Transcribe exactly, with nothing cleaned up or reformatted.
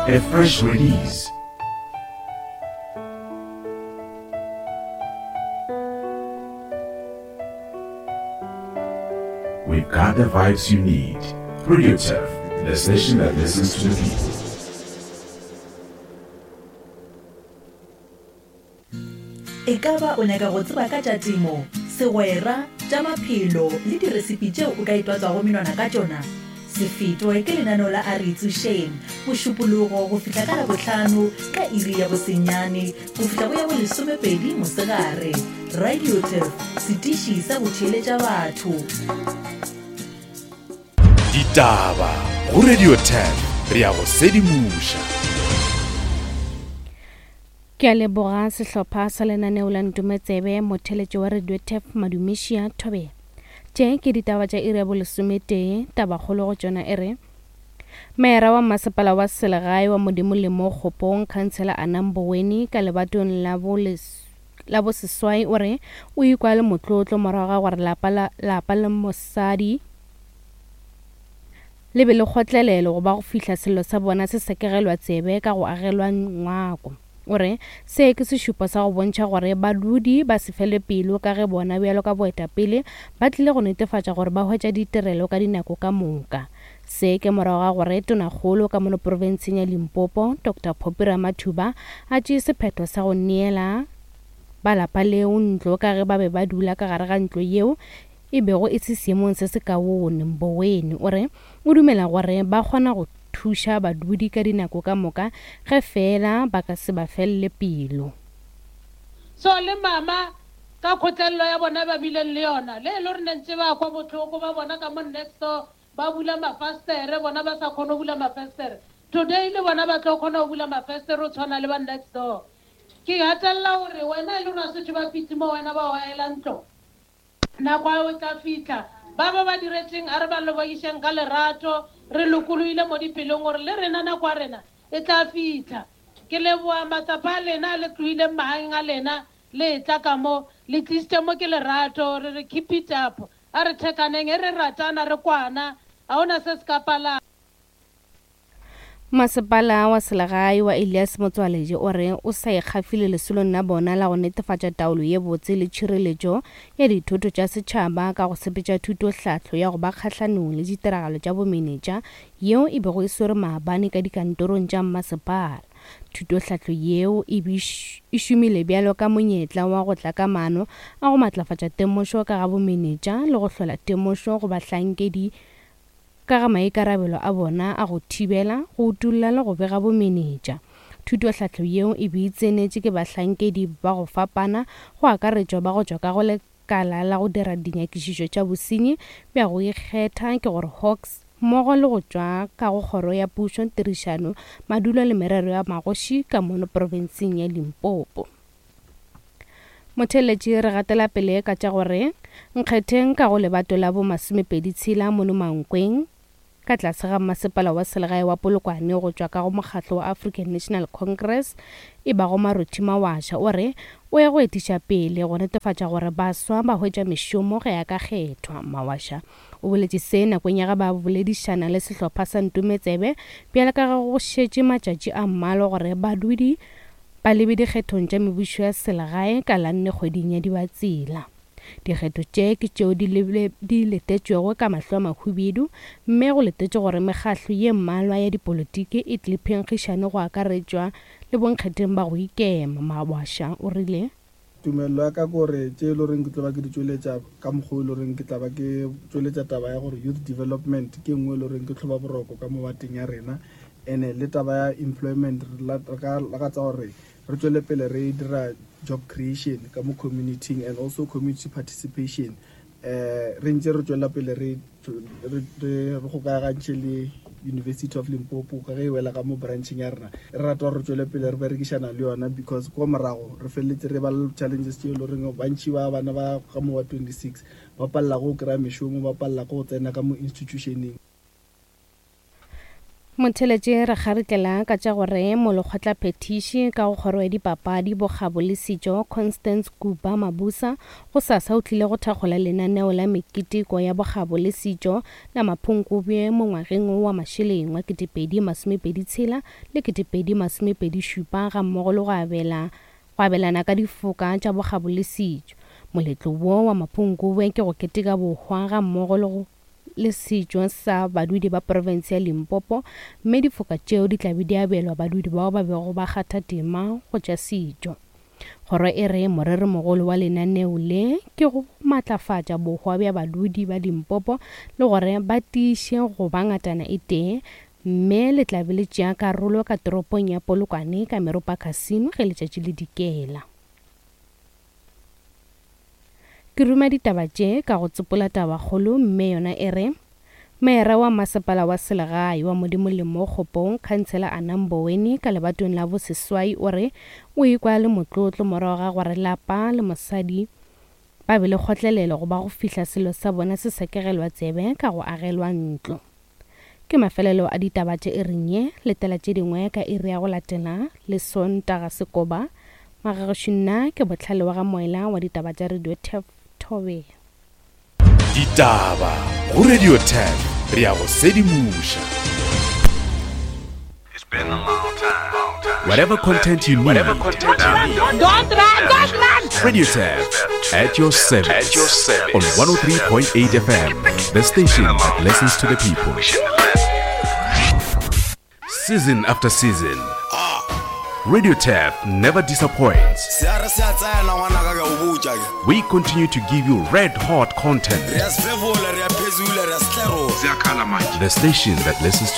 A fresh release. We've got the vibes you need. Radio Turf, the station that listens to the people. E ka ba o nyaka go tseba ka tša temo, segwera, tša maphelo le diresipi tšeo o ka itwatswago menwana ka tšona? Se fetwe ke lenaneo la A Re Itsošeng, Mošupologo go fihla ka Labohlano ka iri ya bosenyane go fihla go ya bolesomepedi mosegare. Radio Turf, setiši sa go theeletša batho. Ditaba go Radio Turf, re ya go sedimoša. Ke a leboga sehlopha sa lenaneo la Ntometsebe, motheletši wa Radio Turf Madumišia Thobela. Tše ke ditaba tša iri ya bolesometee, tabakgolo go tšona e re Meera wa masepala wa selegae wa Modimo-Lemo Kgopong, Khansela Anna Mboweni ka lebatong la boles la boseswai o re o ikwa le motlotlo morago ga gore lapa la lapa le mosadi le be le kgotlelelo go ba go fihla sello sa bona se sekegelwa tsebe ka go agelwa ngwako. O re se ke sešupo sa go bontšha gore badudi ba se fele pelo ka ge bona bjalo ka boetapele ba tlile go netefatša gore ba hwetša ditirelo ka dinako ka moka. Se ke morago ga gore tonakgolo ka mono profenseng ya Limpopo Doctor Phophi Ramathuba a tšee sephetho sa go neela ba lapa leo ntlo ka ge ba be ba dula ka gare ga ntlo yeo e bego e se seemong se se kaone. Mboweni o re o dumela gore ba kgona go thuša badudi ka dinako ka moka ge fela ba ka se ba felele pelo. So le mama ka kgotlelelo ya bona ba bileng le yona le e le gore ne ntse ba kwa botlhoko ba bona ka mo next door ba bula mafastere, bona ba sa kgone go bula mafastere. Today le bona ba tlo kgona go bula mafastere o tshwana le ba next door. Ke gatelela gore wena e le gore a setse ba fitlhe mo wena ba o aela ntlo, nako ya o tla fitlha ba ba ba diretseng a re ba lebogišeng ka lerato, re lokolohile mo dipelong gore le rena nako ya rena e tla fitlha. Ke leboa matsapa a lena le tlohileng magaeng a lena le tla ka mo le tlisitse mo ke lerato, re re keep it up, a re thekaneng e re ratana re kwana, ga ona se se ka palang. Masepala wa selegae wa Elias Motsoaledi o re o sa ikgafile lesolong la bona la go netefatša taolo ye botse le tšhireletšo ya dithoto tša setšhaba ka go sepetša thutohlahlo ya go ba kgahlanong le ditiragalo tša bomenetša yeo e bego e swere maabane ka dikantorong tša mmasepala. Thutohlahlo yeo e e šomile bjalo ka monyetla wa go tla ka maano a go matlafatša temošo ka ga bomenetša le go hlola temošo go bahlankedi ka ga maikarabelo a bona a go thibela, go utolla le go bega bomenetša. Thutohlahlo yeo e be e tsenetše ke bahlankedi ba go fapana go akaretšwa ba go tšwa ka go lekala la go dira dinyakišišo tša bosenyi bja go ikgetha ke gore Hawks mmogo le go tšwa ka go kgoro ya pušo, tirišano, madulo le merero ya magoši ka mono profenseng ya Limpopo. Motheletši re gatela pele ka tša gore nkgetheng ka go lebato la bo masomepedi tshela mono Mankweng ka tlase ga masepala wa selegae wa Polokwane go tšwa ka go mokgatlo wa African National Congress e bago Marothi Mawasha o re o ya go etiša pele go netefatša gore baswa ba hwetša mešomo ge ya ka kgethwa. Mawasha o boletše se nakong ya ge ba boledišana le sehlopha sa Ntometsebe bjale ka ge go šetše matšatši a mmalwa gore badudi ba lebe dikgethong tša mebušo ya selegae ka la nne kgweding ya Dibatsela. Dikgetho tše ke tšeo di di letetšwego ka mahlo a mahubedu mme go letetše gore mekgahlo ye mmalwa ya dipolotiki e tle phenkgišane go akaretšwa le bonkgetheng ba go ikema. Mawasha o rile Tumelelo ya ka kore tše e le goreng ke tlo ba ke di tšweletša ka mokgwa o e le goreng ke tla ba ke tšweletša taba ya gore youth development ke nngwe e le goreng ke tlhoba boroko ka mo bateng ya rena, ene le taba ya employment re ka lakatsa gore re tšwele pele re dira job creation ka mo community and also community participation. Eh re ntse re tšwela pele re re re gokagantšhe le University of Limpopo ka ge e wela ka mo brancheng ya rena, re rata gore re tšwele pele re berekišana le yona because ko morago re feleletse re ba le challenges tše e le goreng bantši ba bana ba ka mo wa twenty-six ba palela go kry-a mešomo, ba palela go tsena ka mo institutioneng. Motheletše re kgaritlela ka tša gore molekgotlaphethiši ka go kgoro ya dipapadi, bokgabo le setšo Constance Kupa Mabusa gosasa o tlile go thakgola lenaneo la meketeko ya bokgabo le setšo la Maphunkubje mo ngwageng wo wa mašeleng wa ketepedi masomepedi tshela le ketepedi masomepedi šupa gammogo le go abela go abelana ka difoka tša bokgabo le setšo. Moletlo wo wa Maphunkubje ke go keteka bohwa gammogo le go le setšo sa badudi ba profense ya Limpopo, mme difoka tšeo di tla be di abelwa badudi bao ba bego ba kgatha tema go tša setšo. Kgoro e re moreromogolo wa lenaneo le ke go matlafatša bohwa bja badudi ba Limpopo le gore ba tiiše go ba ngatana e tee, mme le tla be le tšea karolo ka toropong ya Polokwane ka Meropa Casino ge letšatši le dikela. Ke ruma ditaba tše ka go tsopola tabakgolo, mme yona e re Meera wa masepala wa selegae wa Modimo le mo Kgopong, Khansela Anna Mboweni ka lebatong la boseswai o re o ikwa le motlotlo morago ga gore lapa le mosadi ba be le kgotlelelo go ba go fihla selo sa bona se sekegelwa tsebe ka go agelwa ntlo. Ke mafelelo a ditaba tše iring ye, letela tše dingwe ka iri ya go latela le Sontaga Sekoba. Magagešo nna ke Bohlale wa ga Moela wa ditaba tša Radio Turf Thobela. Ditaba go Radio Turf, re ya go sedimoša. Whatever content you need. Don't run, don't run. Radio Turf at your service. At your service. On one oh three point eight F M, the station that listens to the people. Season after season, Radio Turf never disappoints. We continue to give you red hot content. The station that listens to